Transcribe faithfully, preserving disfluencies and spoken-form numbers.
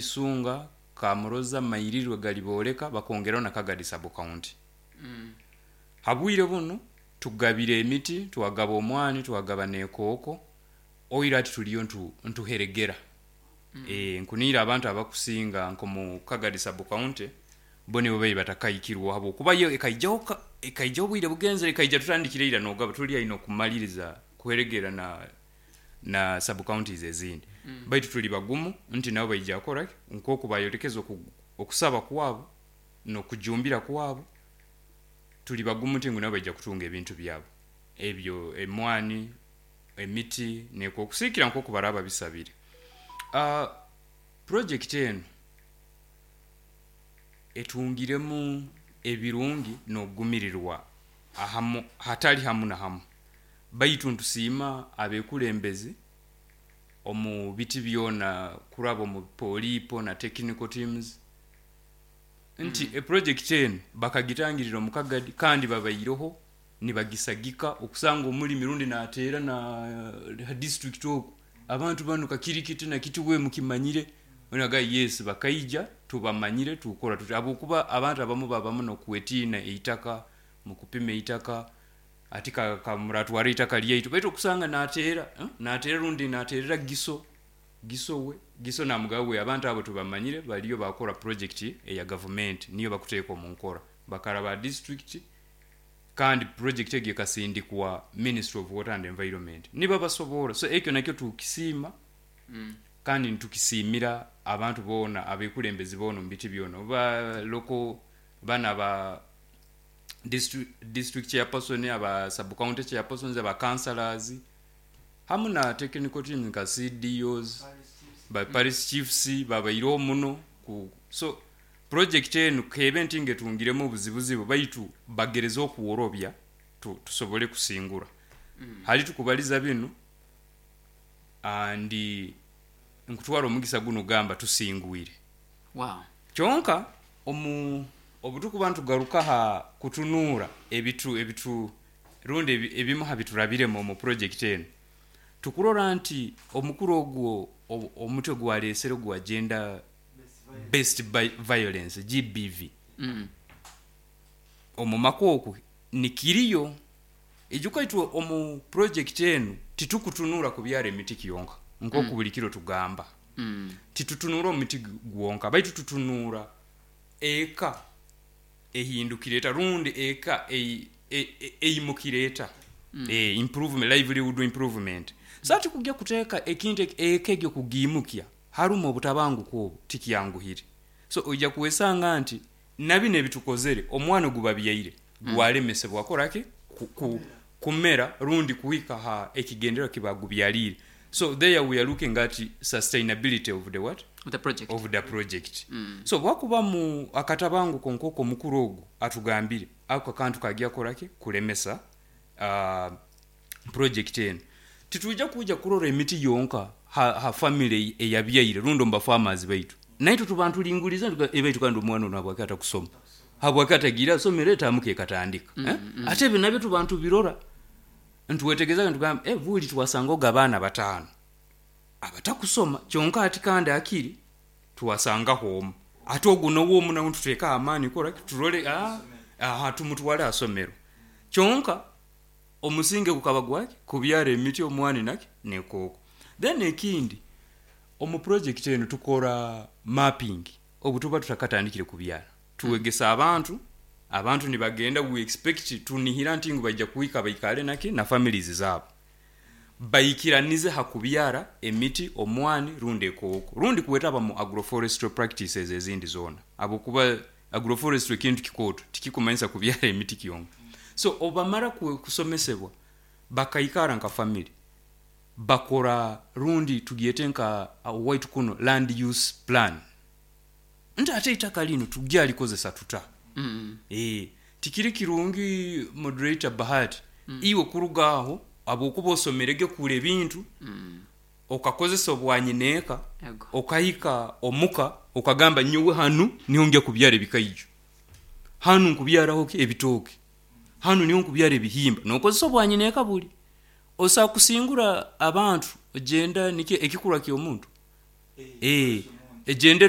Isunga, Kamuroza, Mairirwe, Galiboleka, bakongeraho na Kagadi sub county. Mm. Habwire buno tugabire emiti, twagaba omwani, twagaba nekooko. Oira ati tuliyo ntu, ntuheregera. Mm. E, nkuniire abantu abakusinga nkomu Kagadi sub county bo nibo bai batakaikirwa, habwokuba yo ekaijaho ka- ekaijaho obwire bugenzere, ekaija tutandikire ira nogaba tuli aine okumaliriza kuheregera na na sub counties ezindi. Mm. Baitu tuli bagumu nti nabo baija kukora ki nkoku bayolekeza oku, okusaba kwabo n'okujumbira kwabo. Tuli bagumu nti ngu nabo baija kutunga ebintu byabo ebyo, emwani, emiti neko okusiikira nkoku baraba bisabire. Uh, project enu etungiremu ebirungi n'okugumirirwa ahamu hatali hamu na hamu, baitu ntusiima abekulembezi omu biti byona kuraba omu polipo na technical teams nti Mm. e project enu bakagitangirira omu Kagadi, kandi babaireho nibagisagika okusanga omulimi rundi nateera na ha district oku, abantu banu kakirikiti na kiti we mukimanyire onaga yes, bakaija tubamanyire, tukora tuti, habwokuba abantu abamu babamu nokwetiina eitaka, mukupima eitaka ati ka- ka- muratwara eitaka lyaitu, baitu okusanga nateera, eh, nateera rundi nateerera giso giso we giso namugaba we abantu abo tubamanyire baliyo bakora project eya gavumenti niyo bakuteeka omu nkora bakaraba district, kandi project egyo ekasindikwa Ministry of Water and Environment nibabasobora. So ekyo nakyo tukisiima. Mm. Kandi nitukisiimira abantu boona, abekulembezi boona omu biti byona, oba local bana ba district, district chairperson, aba sub county chairpersons, aba councillors, hamu na technical teams nka C D Os, ba parish chiefs babaireho muno ku. So project enu kebe nti ngetungiremu obuzibuzibu, baitu bagereza okuworobya tu, tusobole kusingura. Mm. Hali tukubaliza binu andi nkutwara omugisa guno gamba tusingwire. Wow. Kyonka omu obutukuba ntugaruka ha kutunuura ebitu ebitu rundi ebi- ebimu ha biturabiremu omu project enu, tukurora nti omukuru ogwo o- omutwe gwalesere gwa gender based by violence, G B V. Mm. Omu maka oku nikiriyo ijuka itwe omu project enu titukutunura kubyara emiti kyonka nkoku Mm. buli kiro tugamba. Mm. Titutunura omuti gwonka, baitu tutunura eka ehindukire eta rundi eka ei- e- e- eimukire eta. Mm. e, improvement, livelihood improvement. So ati kujya kuteeka ekintu eki- eka egyo kugiimukya harumu obutabanguko obu tikyanguhire. So oija kwesanga nti nabino ebitukozere omwana ogubabyaire Mm. gwalemesebwa koraki ku, ku, kumera rundi kuhika ha ekigendererwa kibagubyalire. So there we are looking at sustainability of the what? The project. Of the project. Mm. So bwakuba mu akatabanguko nk'oko omukuru ogu atugambire, ako akantu kagya koraki kulemesa uh, project enu. Titujja kuja kurora emiti yonka ha, ha family eyabyaire rundi omu bafarmers baitu, naitwe tuba ntulinguliza ebaitu, kandi omwana ono habwaki atakusoma, habwaki atagira asomero etamuka ekatandika, Mm, eh? mm. Ate ebyo nabyo tuba ntubirora, ntuwetegeza ntugamba eh, buli twasangaoga abaana bataano abatakusoma kyonka ati kandi akiri twasangaho omu, ate ogu nowo omu nawe ntuteeka amaani kora turole, ah, aha tumutwale asomero. Kyonka omusinge gukaba gwaki kubyara emiti, omwani naki nekooko. Then ekindi, omu project enu tukora mapping obu tuba tutakatandikire kubyara, tuwegesa abantu, abantu nibagenda, we expect, tunihira nti ngu baija kuhika baikale naki na families zaabo baikiranize ha kubyara emiti, omwani rundi ekooko, rundi kwetaba mu agroforestry practices ezindi zoona, habwokuba agroforestry ekintu kikooto, tikikumanyisa kubyara emiti kyonka. So obamara ku- kusomesebwa bakaikara nka family, bakora rundi tugyete nka uh, waitu kuno land use plan, nti ate eitaka lino tugyalikozesa tuta? Mm. E, tikiri kirungi, moderator Bahati, Mm. iwe kuruga aho habwokuba osomerege kura ebintu Mm. okakozesa obwanyineeka, Ego. okahika omuka okagamba, nyowe hanu niho ngya kubyara ebikaijo, hanu nkubyaraho ki ebitooke, hanu niho nkubyara ebihimba, nokozesa obwanyineeka buli osobola kusingura abantu ogenda nikyo ekikurwa ky'omuntu e, egende.